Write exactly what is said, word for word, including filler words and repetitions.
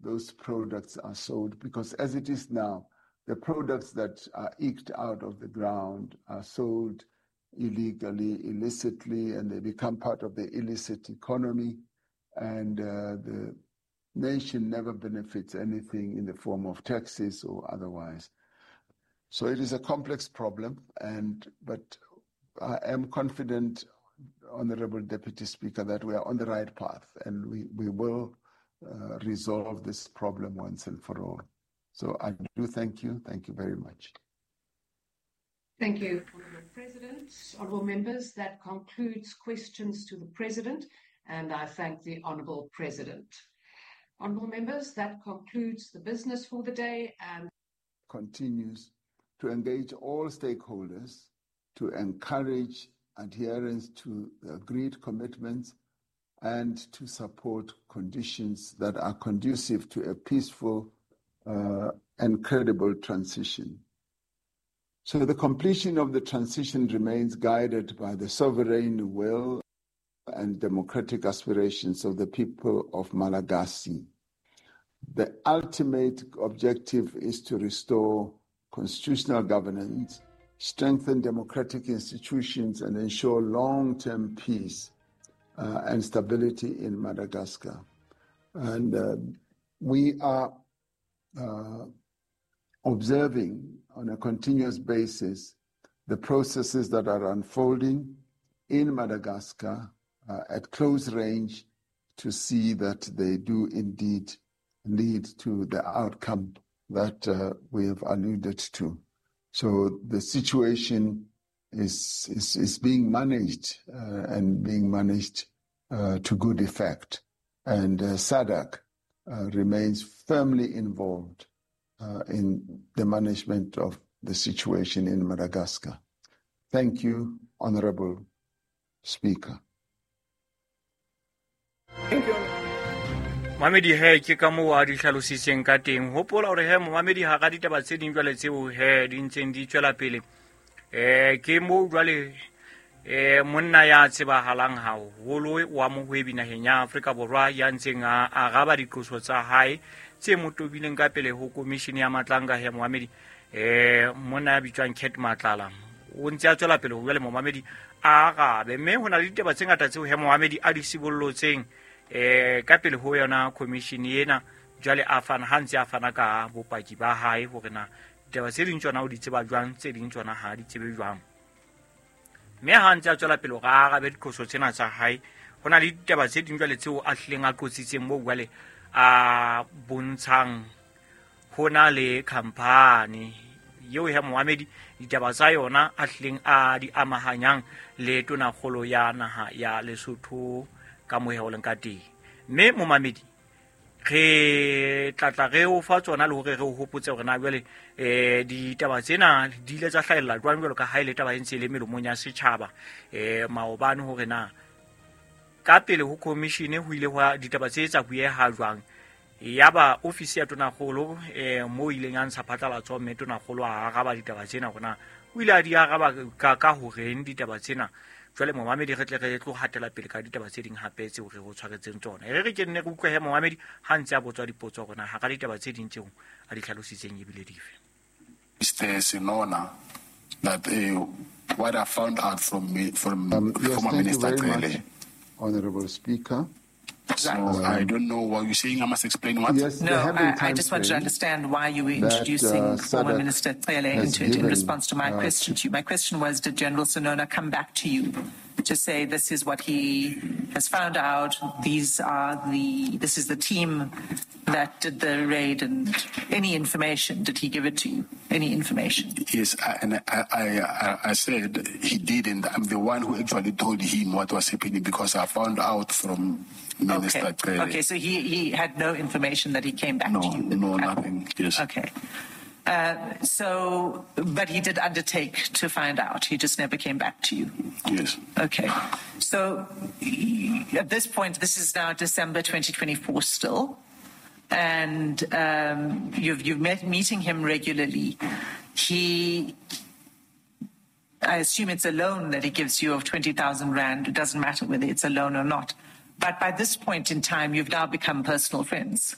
those products are sold, because as it is now, the products that are eked out of the ground are sold illegally, illicitly, and they become part of the illicit economy, and uh, the nation never benefits anything in the form of taxes or otherwise. So it is a complex problem, and but I am confident, Honorable Deputy Speaker, that we are on the right path, and we, we will uh, resolve this problem once and for all. So I do thank you. Thank you very much. Thank you, Honourable President. Honourable members, that concludes questions to the President, and I thank the Honourable President. Honourable members, that concludes the business for the day. And continues to engage all stakeholders to encourage adherence to the agreed commitments and to support conditions that are conducive to a peaceful uh, and credible transition. So the completion of the transition remains guided by the sovereign will and democratic aspirations of the people of Malagasy. The ultimate objective is to restore constitutional governance, strengthen democratic institutions, and ensure long-term peace uh, and stability in Madagascar. And uh, we are uh, observing on a continuous basis the processes that are unfolding in Madagascar uh, at close range to see that they do indeed lead to the outcome that uh, we have alluded to. So the situation is is, is being managed uh, and being managed uh, to good effect. And uh, S A D C uh, remains firmly involved uh, in the management of the situation in Madagascar. Thank you, Honorable Speaker. Thank you. Mamedi he ke ka moo a di hlalositseng ka teng. Hopola hore he momamedi ha ka ditaba tse ding jwale tseo he di ntseng di tswela pele. Eh ke moo jwale eh monna ya tsebahalang haholo wa mohwebi naheng ya Afrika Borwa ya ntseng a araba diqoso tsa hae tse mo tobileng ka pele ho komishini ya Matlanga he momamedi. Eh monna ya bitswang Cat Matlala o ntse a tswela pele ho jwale momamedi a arabe, mme ho na le ditaba tse ngata tseo he momamedi a di sibollotseng eh ka pele ho yona commission ena jwale a fana ha ntse a fana ka bopaki ba hae hore na ditaba tse ding tsona o di tseba jwang, tse ding tsona ha di tsebe jwang. Mme ha ntse a tswela pele hore a arabe diqoso tsena tsa hae, ho na le ditaba tse ding jwale tseo a hlileng a qotsitseng moo jwale a bontshang ho na le company eo ya Mohamedi ditaba tsa yona a hlileng a di amahanyang le tonakgolo ya naha ya Lesotho ka moya o leng ka teng. Mme momamedi re tlatla re o fa tsona le hore re o hopotse hore na jwale eh ditaba tsena di ile tsa hlahella jwang jwalo ka ha ile taba e ntse le melomong ya setjhaba eh maobane hore na ka pele ho commission ho ile hwa ditaba tse tsa bueha jwang. Yaba ofisi ya tonakgolo eh mo ileng ya ntsha phatlalatso mme tonakgolo a araba ditaba tsena hore na o ile a di araba ka ka horeng ditaba tsena. Jwale momamedi re tle re tlo hatela pele ka ditaba tse ding hape tseo re ho tshwaretseng tsona. E re re ke nne re utlwe he momamedi ha ntse a botswa dipotso hore na ha ka ditaba tse ding tseo a di hlalositseng ebile dife. Mister Senona, that uh, what I found out from me, from um, yes, former thank Minister you very Cele. much, Honorable Speaker. So um, I don't know what you're saying. I must explain what? Yes, no, I, I just wanted to understand why you were introducing that, uh, former Minister Cele into it in response to my uh, question to you. My question was, did General Senona come back to you to say this is what he has found out, these are the, this is the team that did the raid, and any information, did he give it to you? Any information? Yes, I, and I, I, I, I said he didn't. I'm the one who actually told him what was happening because I found out from Minister Okay. Cele. Okay, so he, he had no information that he came back no, to you with? No, nothing, yes. Okay. Uh, so, but he did undertake to find out. He just never came back to you. Yes. Okay. So at this point, this is now December twenty twenty-four still. And um, you've, you've met meeting him regularly. He, I assume it's a loan that he gives you of twenty thousand rand. It doesn't matter whether it's a loan or not. But by this point in time, you've now become personal friends.